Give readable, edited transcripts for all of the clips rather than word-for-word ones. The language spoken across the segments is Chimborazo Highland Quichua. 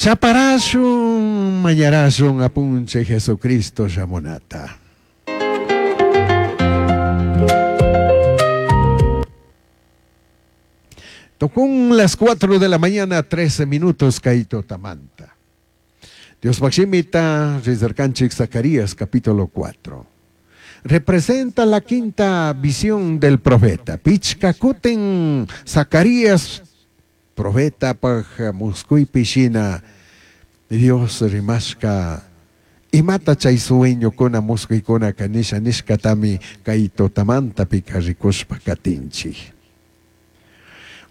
Chaparashun mañarashun apunchik Jesucristo shamunata. Tocó las 4 de la mañana, 13 minutos, kay tutamanta. Dios Maximita, Rizarcanchik Zacarías, capítulo 4. Representa la quinta visión del profeta. Pichca kutin Zacarías, profeta paj muscuipi shina, Dios rimashka, imata chay sueñokuna muscuykuna kanisha nishkatami kay tutamanta pika rikushpa katinchik.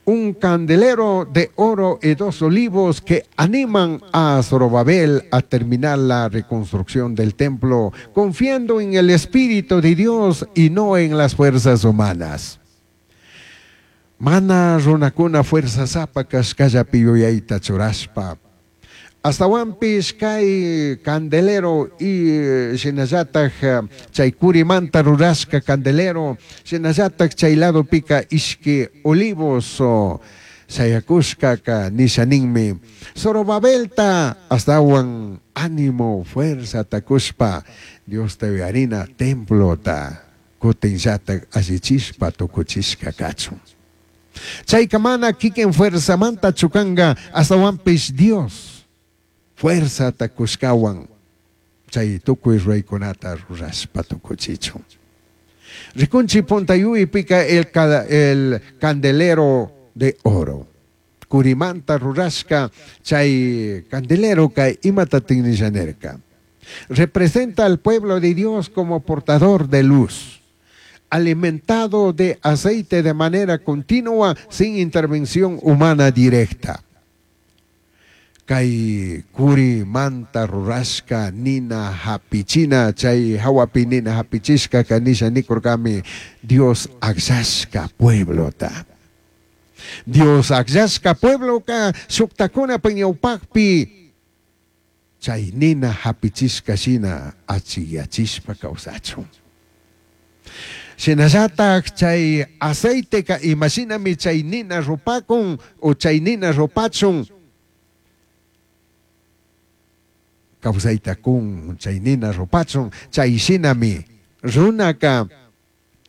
Un candelero de oro y dos olivos que animan a Zorobabel a terminar la reconstrucción del templo, confiando en el Espíritu de Dios y no en las fuerzas humanas. Mana runakuna fuerza sapa kashkallapi yuyayta churashpa. Ashtahuanpish kay candelero y shinallataj chay curimanta rurashka candelero, shinallataj chay ladopika ishki olivos shayakushkaka nisha ninmi. Zorobabelta ashtawan ánimo, fuerza takushpa Dios te uyarina templota kutinllataj allichishpa tukuchishka kachun. Chayka mana kikin fuerzamanta chukanga ashtahuanpish Dios fuerza takushkawan chay tukuy ruraykunata rurashpa tukuchichun. Rikunchi puntayuypika el candelero de oro. Curimanta rurashka chay candelero kay imatatin nishanerka. Representa al pueblo de Dios como portador de luz, alimentado de aceite de manera continua sin intervención humana directa. Kay kuri manta rurashka nina hapichina chay hawapi nina hapichishka kanisha nikurkami Dios akllashka pueblota. Dios akllashka puebloka shuktakuna ñawpakpi chay nina hapichishka shina achiyachishpa kawsachun. Shinallatak chay aceiteka imashinami chay nina rupakun o chay nina rupachun kawsayta kun chay nina rupachun chay shinami runaka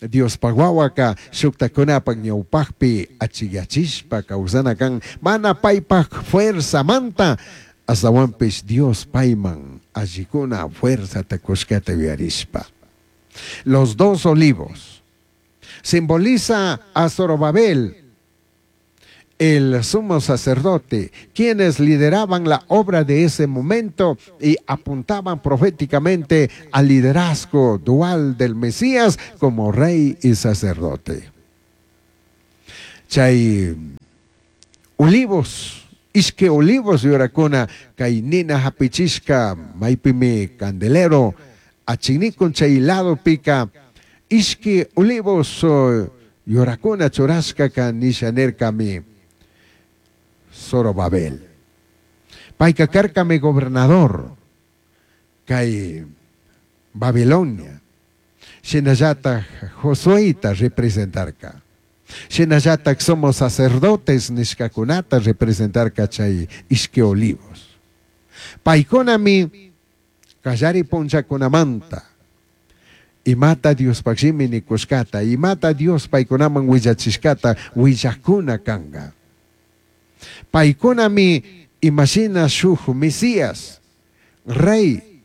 Diospaq wawaka shuktakunapak ñawpakpi achiyachishpa kawsana kan mana paypak fuerzamanta ashtawanpish Dios payman allikuna fuerzata kushkata yuyarishpa. Los dos olivos simboliza a Zorobabel, el sumo sacerdote, quienes lideraban la obra de ese momento y apuntaban proféticamente al liderazgo dual del Mesías como rey y sacerdote. Chay olivos, ishke olivos yurakuna, kay nina hapichishka, maypimi candelero, achinikun chay lado pica, ishke olivos yurakuna churashka ka nisha nerkami Zorobabel. Payka karkami gobernador kay Babilonia. Shinallataj Josueta representarka. Shinallataj somos sacerdotes nishkakunata representarka chay ishke olivos. Paykunami kallari punchakunamanta imata Diospaq shimi nikushkata, imata Dios paykunaman willachishkata willakuna kanga. Paykunami imashina shuk Mesías, rey,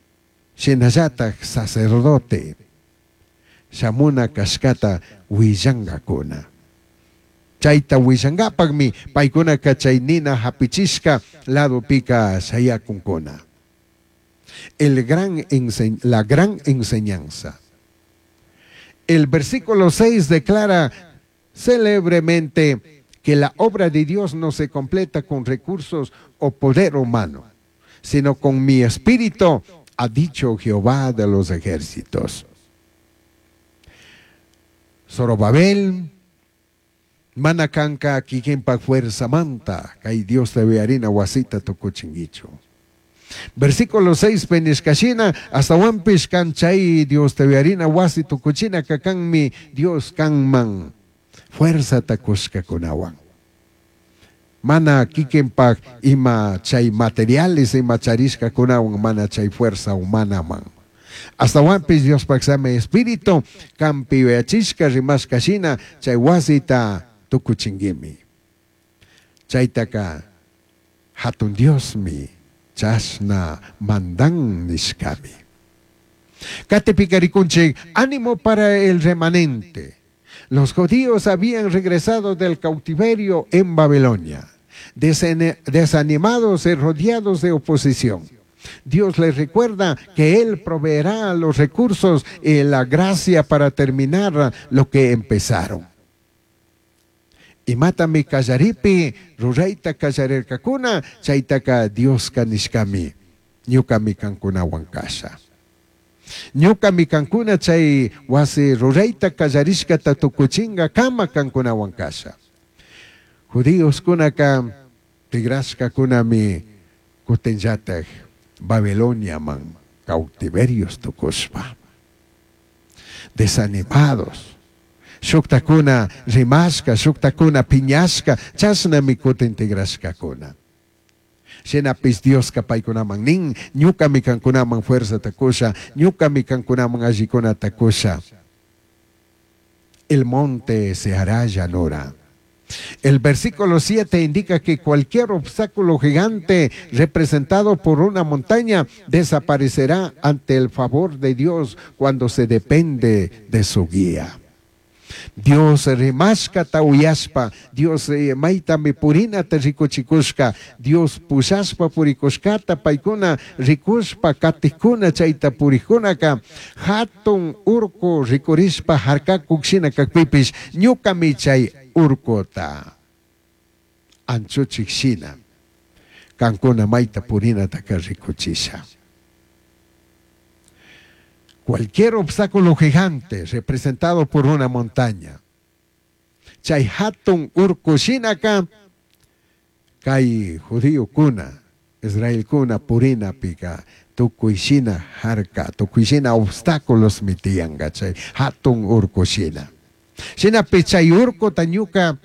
shinallataj sacerdote, shamuna kashkata willangakuna. Chayta willangapaqmi paykunaka chay nina hapichishka ladopika shayakunkuna. La gran enseñanza. El versículo 6 declara célebremente que la obra de Dios no se completa con recursos o poder humano, sino con mi espíritu, ha dicho Jehová de los ejércitos. Zorobabel, mana kanka kikinpa fuerza manta, kay Dios te harina wasita tukuchinguichu. Versículo 6, penishkashina, hasta wampish kan chay Dios te harina wasi tukuchina kakanmi Dios kanman fuerza takushkakunawan. Mana kikinpak ima chay materiales ima charishkakunawan mana chay fuerza humanaman. Astawanpish Diospak Samai Espíritu kanpi yuyachishka rimashka shina chay wasita tukuchinguimi. Chaytaka hatun Diosmi chashna mandan nishkami. Katipika rikunchik ánimo para el remanente. Los judíos habían regresado del cautiverio en Babilonia, desanimados y rodeados de oposición. Dios les recuerda que Él proveerá los recursos y la gracia para terminar lo que empezaron. Imatami kallaripi rurayta kallarirkakuna, chaytaka Dioska nishkami, ñukami kankunawan kasha. Ñukami kankuna chay wasi rurayta kallarishkata tukuchinga kama kankunawan kasha. Judíoskunaka tigrashkakunami kutinllatak Babiloniaman cautiverios tukushpa. Desanimados. Shuktakuna rimashka, shuktakuna piñashka, chashnami kutin tigrashkakuna. Shinapish Dioska paykunaman nin, ñukami kankunaman fuerzata kusha, ñukami kankunaman allikunata kusha. El monte se hará llanura. El versículo 7 indica que cualquier obstáculo gigante representado por una montaña desaparecerá ante el favor de Dios cuando se depende de su guía. Dios rimashkata uyashpa, Dios maytami purinata rikuchikushka, Dios pushashpa purikushkata paykuna rikushpa katikuna chayta purikunaka hatun urku rikurishpa harkakuk shina kakpipish ñukami chay urkuta anchuchik shina kankuna mayta purinataka rikuchisha. Cualquier obstáculo gigante representado por una montaña. Chay hatun urku shinaka kay judíokuna, israelkuna purinapika tukuy shina harka, tukuy shina obstáculos mitiyanka chay hatun urku shina. Shinapi chay urkuta ñuka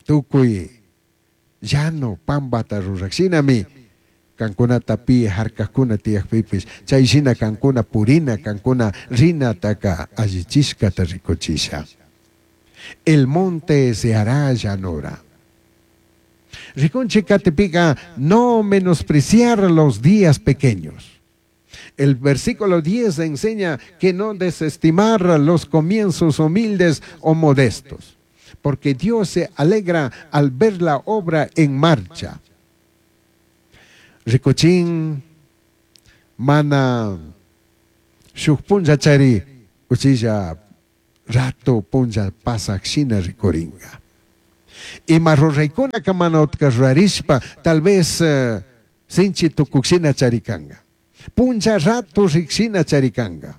tukuy llano pampata rurak shinami kankunata pi harkakuna tiyakpipish chay shina kankuna purina, kankuna rinataka allichishkata rikuchisha. El monte se hará llanura. Rikunchik katipika no menospreciar los días pequeños. El versículo 10 enseña que no desestimar los comienzos humildes o modestos, porque Dios se alegra al ver la obra en marcha. Rikuchin mana shuk punlla chari uchilla rato punlla pasak shina rikuringa. Ima ruraykunaka mana utka rurarishpa tal vez sinchi tukuk shina charikanga. Punlla rato rikshina charikanga.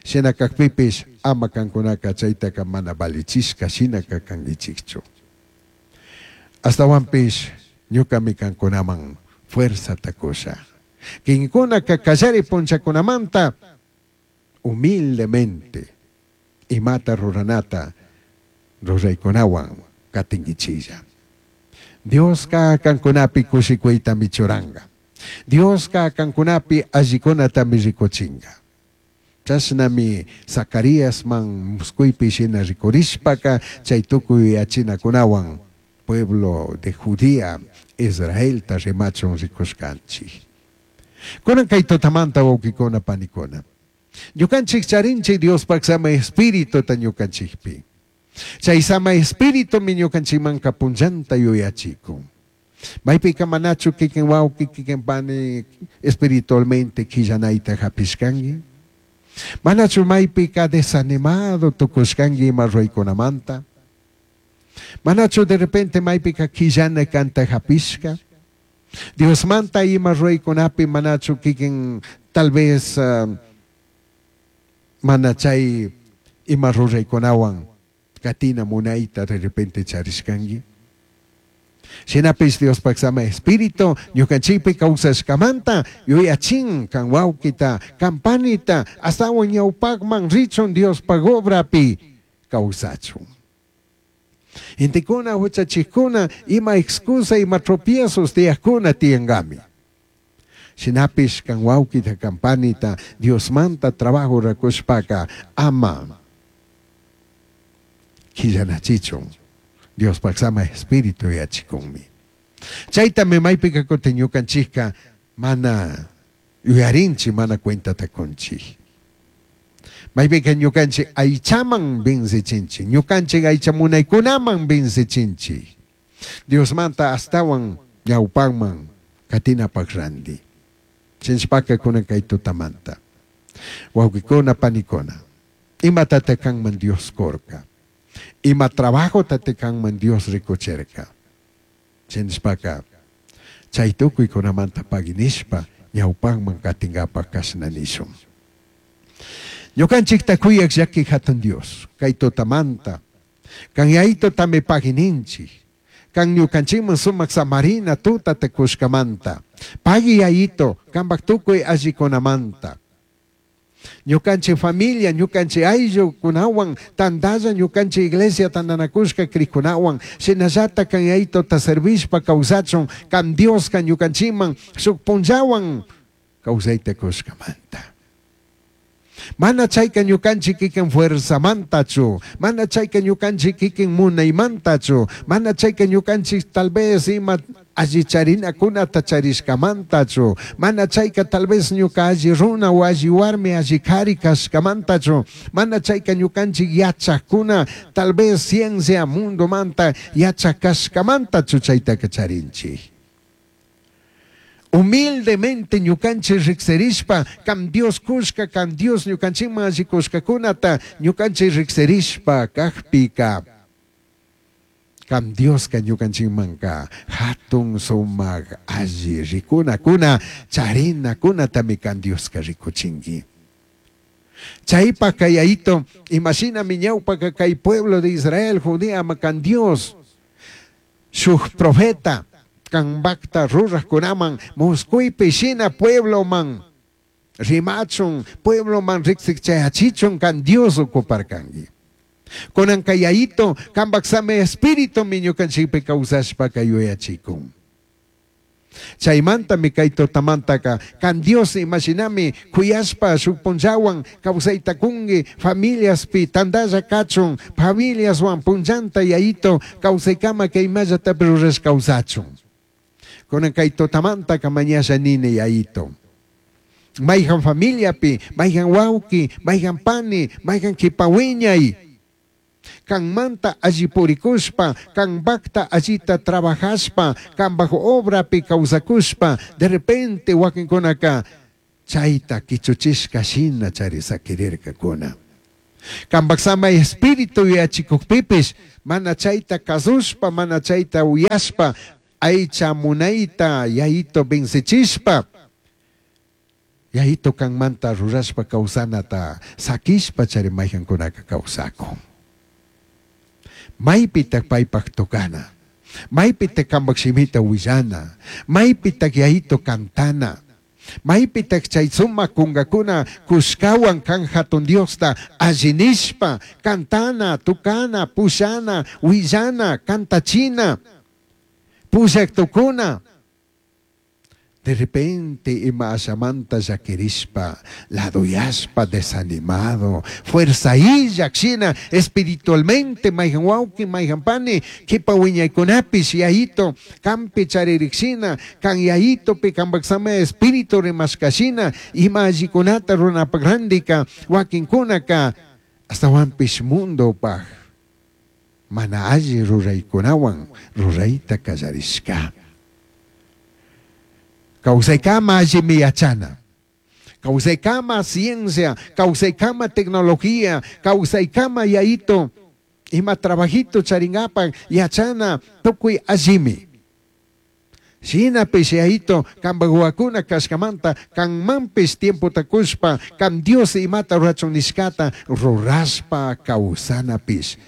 Shina kakpipish ama kankunaka chaytaka mana valichishka shinaka kankichikchu. Astawanpish ñukami kankunaman fuerza takusha. Kinkunaka kallari punchakunamanta humildemente imata ruranata ruraykunawan katinkichilla. Dioska kankunapi kushikuyta michuranga. Dioska kankunapi allikunata rikuchinga. Chashnami Zacaríasman muskuypi shina rikurishpaka chay tukuy yachinakunawan pueblo de Judea, Israelta rimachun rikushkanchik. Kunan kay tutamanta wawkikuna panikuna. Ñukanchik charinchik Diospak sama espírituta ñukanchikpi. Chay sama espíritumi ñukanchikmanka punllanta yuyachikun. Maypika manachu kikin wawki kikin pani espiritualmente quillanayta hapishkanki. Manachu maypika desanimado tukushkanki ima ruraykunamanta. Manachu de repente maypika quillana kanta hapishka. Diosmanta ima ruraykunapi manachu kikin tal vez mana chay ima ruraykunawan katina munayta de repente charishkanki. Shinapish Diospak sama espíritu ñukanchikpi kawsashkamanta yuyachin kan wawkita kan panita astawan ñawpakman richun Diospak obrapi kawsachun. Gentecuna huchachijcuna ima excusa ima tropiezos tiyajcuna tiyangami. Shinapish kan wawkita kan panita Diosmanta trabajo rurakushpaka ama quillanachichun Diospaj sama espíritu yachikunmi. Chaytami maypika kutin ñukanchikka mana yuyarinchik mana cuentata kunchik. Maypika ñukanchik aychaman vencichinchik, ñukanchik aycha munaykunaman vencichinchik. Diosmanta astawan ñawpanman katinapaq ranti. Chinchpaka kunan kay tutamanta. Wawqikuna panikuna, imatata kanman Dios kurka? Ima trabajotata kanman Dios rikuchirka? Chinchpaka chay tukuykunamanta paginishpa ñawpanman katinkapak kashna nishun. Ñukanchikta kuyaq llaki hatun Dios, kay tutamanta, kan yaytutami pagininchik, kan ñukanchikman sumak samarina tutata kushkamanta, pagui yayito, kanpak tukuy allikunamanta. Ñukanchik familia, ñukanchik ayllukunawan, tantalla ñukanchik iglesia tantanakushka krikunawan, shinallata kan yayituta servishpa kawsachun, kan Dioska ñukanchikman shuk punllawan kawsayta kushkamanta. Mana chayka ñukanchik kikin fuerzamantachu, mana chayka ñukanchik kikin munaymantachu, mana chayka ñukanchik tal vez ima alli charinakunata charishkamantachu, mana chayka tal vez ñuka alli runa o alli warmi alli kari kashkamantachu, mana chayka ñukanchik yachakuna tal vez ciencia mundomanta yachak kashkamantachu chaytaka charinchik. Humildemente ñukanchik riksirishpa kan Dios kushka, kan Dios ñukanchikman alli kushkakunata ñukanchik riksirishpa kakpika kan Dioska ñukanchikmanka hatun sumak alli rikunakuna charinakunatami kan Dioska rikuchinki. Chaypaq kay yayito imashinami ñawpaka kay pueblo de Israel Judea kan Dios shuk profeta kanpakta rurajkunaman muskuypi shina puebloman rimachun puebloman riksichayachichun kan Dios ocuparkanki. Kunan kay yayito kanpak sami espíritumi ñukanchikpi kawsashpaka yuyachikun. Chaymantami kay tutamantaka kan Dios imashinami kuyashpa shuk punllawan kawsayta kunki familiaspi tantalla kachun familiaswan punllanta yayito kawsaykama kay imallatapi rurash kawsachun. Kunan kay tutamantaka mañasha nini yayito. Mayhan familiapi, mayhan wawki, mayhan pani, mayhan kipawiñay. Kanmanta alli purikushpa, kanpakta allita trabajashpa, kanpak obrapi kawsakushpa, de repente wakinkunaka chayta kichuchishka shina chari sakirirkakuna. Kanpak sama espíritu yuyachikukpipish, mana chayta kasushpa, mana chayta uyashpa, aycha munayta yayito vencichishpa, yayito kanmanta rurashpa kawsanata sakishpa chari mayhankunaka kawsakun. Maypitak paypak tocana, maypitak kanpak shimita willana, maypitak yayito cantana, maypitak chay sumak kunkakuna kushkawan kan hatun Diosta allinishpa cantana, tukana, pushana, willana, kantachina, pushak tukuna. De repente ima ashamanta llakirishpa, laduyashpa, desanimado, fuerza illak shina espiritualmente mayhan wawki, mayhan pani, kipa wiñaykunapish yayito kampi charirikshina, kan yayitopi kanpak sama espíritu rimashkashina, ima allikunata runapak randika, wakinkunaka astawanpish mundopaj mana alli ruraykunawan rurayta kallarishka. Kawsaykama allimi yachana, kawsaykama ciencia, kawsaykama tecnología, kawsaykama yayito, ima trabajito charinkapak yachana tukuy allimi. Shinapish yayito kanpak wawakuna kashkamanta kanmanpish tiempota kushpa kan Dios imata rurachun nishkata rurashpa kawsanapish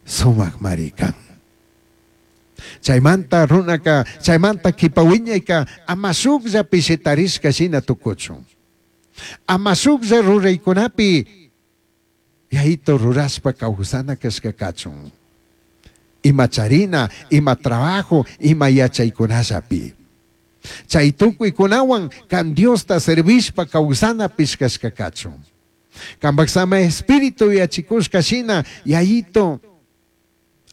sumakmari kan. Chaymanta runaka, chaymanta kipa wiñayka ama shukllapi shitarishka shina tukuchun. Ama shuklla ruraykunapi yayito rurashpa kawsana kashka kachun. Ima charina, ima trabajo, ima yachaykunallapi. Chay tukuykunawan kan Diosta servishpa kawsanapish kashka kachun. Kanpak sama espíritu yachikushka shina yayito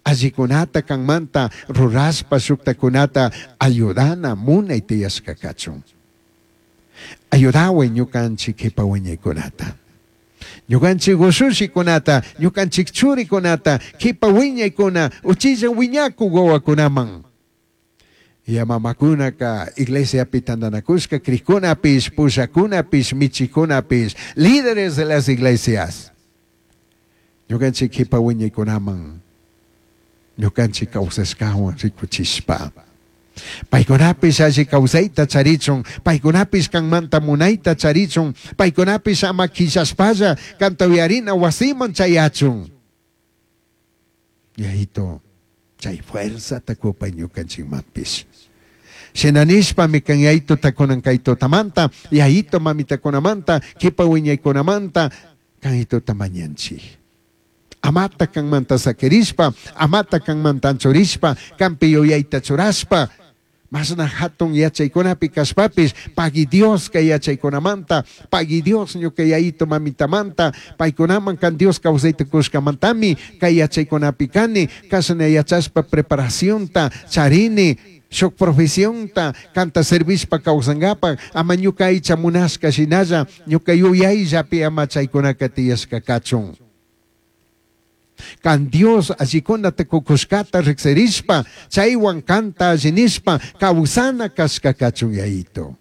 allikunata kanmanta rurashpa shuktakunata ayudana munay tiyashka kachun. Ayudaway ñukanchik kipa wiñaykunata. Ñukanchik ushushikunata, ñukanchik churikunata, kipa wiñaykuna, uchilla wiñakuk wawakunaman. Ya mamakunaka iglesiapi tantanakushka crikunapish, pushakunapish, michikunapish, líderes de las iglesias. Ñukanchik kipa wiñaykunaman, ñukanchik kawsashkawan rikuchishpa. Paykunapish alli kawsayta charichun, paykunapish kanmanta munayta charichun, paykunapish ama quillashpalla kanta uyarina wasiman chayachun. Yayito, chay fuerzata kupay ñukanchikmanpish. Shina nishpami kan yayituta kunan kay tutamanta, yayito mamitakunamanta, kipa wiñaykunamanta, kayituta mañanchik. Amata kanmanta sakirishpa, amata kanmanta anchurishpa, kanpi yuyayta churashpa, masna hatun yachaykunapi kashpapish, pagui Dios kay yachaykunamanta, pagui Dios ñuka yayito mamitamanta, paykunaman kan Dios kawsayta kushkamantami kay yachaykunapi kani, kashna yachashpa preparacionta charini, shuk profesionta kanta servishpa kawsankapak, ama ñuka aycha munashka shinalla, ñuka yuyayllapi ama chaykunaka tiyashka kachun. Kan Dios allikunata kukushkata riksirishpa, chaywan kanta allinishpa, kawsana kashka kachun yayito.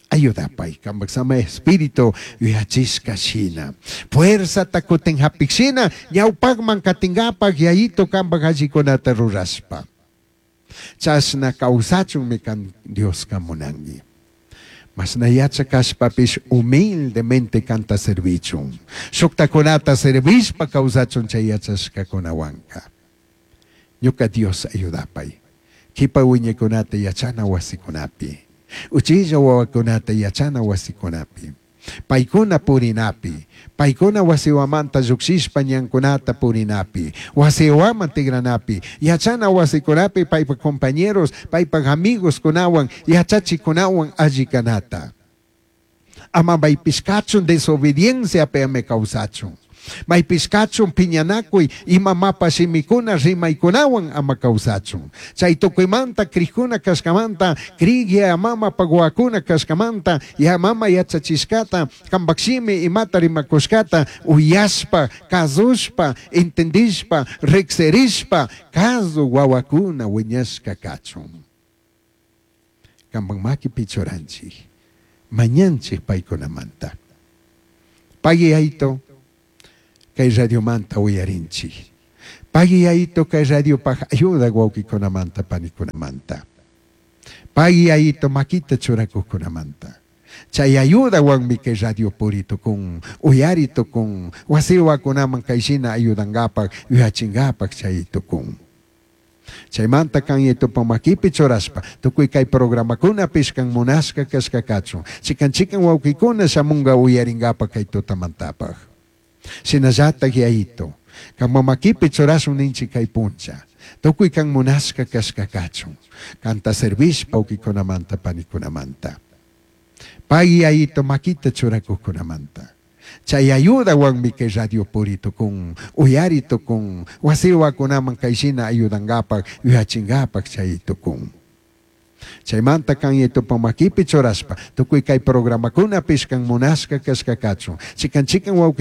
Ayudapay, kanpak sama espíritu yuyachishka shina. Fuerzata kutin hapik shina, ñawpakman katinkapak yayito kanpak allikunata rurashpa. Chashna kawsachunmi kan Dioska munanki. Masna yachakashpapish humildemente kanta servichun. Shuktakunata servishpa kawsachun chay yachashkakunawanka. Ñuka Dios ayudapay. Kipa wiñaykunata yachana wasikunapi. Uchilla wawakunata yachana wasikunapi. Paykuna purinapi. Paykuna wasiwamanta llukshishpa ñankunata purinapi. Wasiwaman tigranapi. Yachana wasikunapi paypak compañeros, paypak amigos kunawan, yachachikunawan alli kanata. Ama maypish kachun desobediencia pe kawsachun. Maypish kachun piñanakuy ima mapa shimikuna rimaykunawan ama kawsachun. Chay tukuymanta krikuna kashkamanta, krik ya mama paguakuna kashkamanta, ya mama yachachishkata, kanpak shimi imata rimakushkata, uyashpa, kazushpa, entendishpa, riksirishpa, kazu wawakuna wiñashka kachun. Kanpak makipi churanchik, mañanchik paykunamanta. Pagui yayito, kay radiomanta uyarinchik. Pagui yayito kay radiopaj ayuda wawqikunamanta panikunamanta. Pagui yayito makita churakuqkunamanta. Chay ayudawanmi kay radio puri tukun, uyari tukun, wasiwakunaman kay shina ayudankapak, yuyachinkapak chay tukun. Chaymanta kan yayitupa makipi churashpa, tukuy kay programakunapish kan munashka kashka kachun. Chikan chikan wawqikuna shamunka uyarinkapak kay tutamantapaj. Shinallatak yayito, kan mamakipi churashun ninchik kay puncha. Tukuy kan munashka kashka kachun. Kanta servishpa wawqikunamanta panikunamanta. Pay yayito makita churakuqkunamanta. Chay ayudawanmi kay radio puri tukun, uyari tukun, wasiwakunaman kay shina ayudankapak, yuyachinkapak chay tukun. Chaymanta kan yayitupa makipi churashpa, tukuy kay programakunapish kan munashka kashka kachun. Chikan chikan wawqi